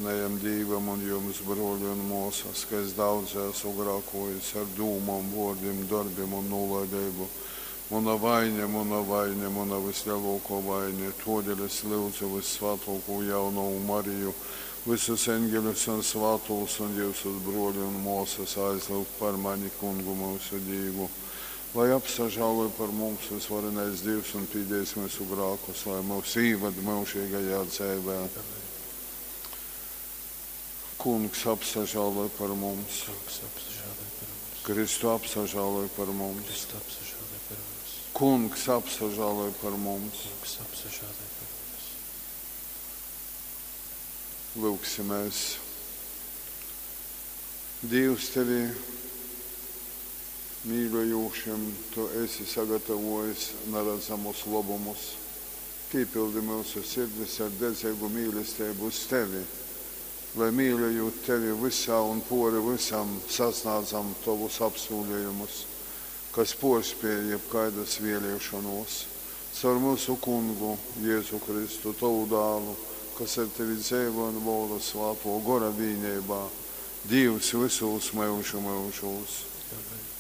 Varenajam Dīvam un jums, bruoli un muosys, ka es daudzi asu grākuojis ar dūmom, vuordim, dorbim un nūlaideibu. Muna vaine, muna vaine, muna vysleluokuo vaine. Tuodeļ es lyudzu Vyssvātuokū Jaunovu Mariju, vysus eņgeļus un svātūs un jiusus, bruoli un muosys, aizlyugt par mani Kungu myusu Dīvu. Lai apsažāloj par mums Vysvarenais Dīvs un pīdīs myusu grākus, lai myus īvad myužeigajā dzeivē. Amen. Kungs apsažāloj par mums. Kungs, apsažāloj par mums. Kristu apsažāloj par mums. Kristu apsažāloj par mums. Kungs apsažāloj par mums. Kungs, apsažāloj par mums. Lūgsimies. Dievs tevi mīļojūšim, tu esi sagatavojis naredzamus lobumus. Pīpildi mūsu sirdis ar dedzīgu mīlestību uz tevi, lai mīļojot tevi visā un pori visam sasniedzam tovus apsūlījumus, kas porspēj jebkaidas vēlēšanos. Caur mūsu kungu Jēzu Kristu, tovu dālu, kas ar tevi dzeivo un valda svāto gora vīnībā, Dievs visos mūžu mūžos. Amen.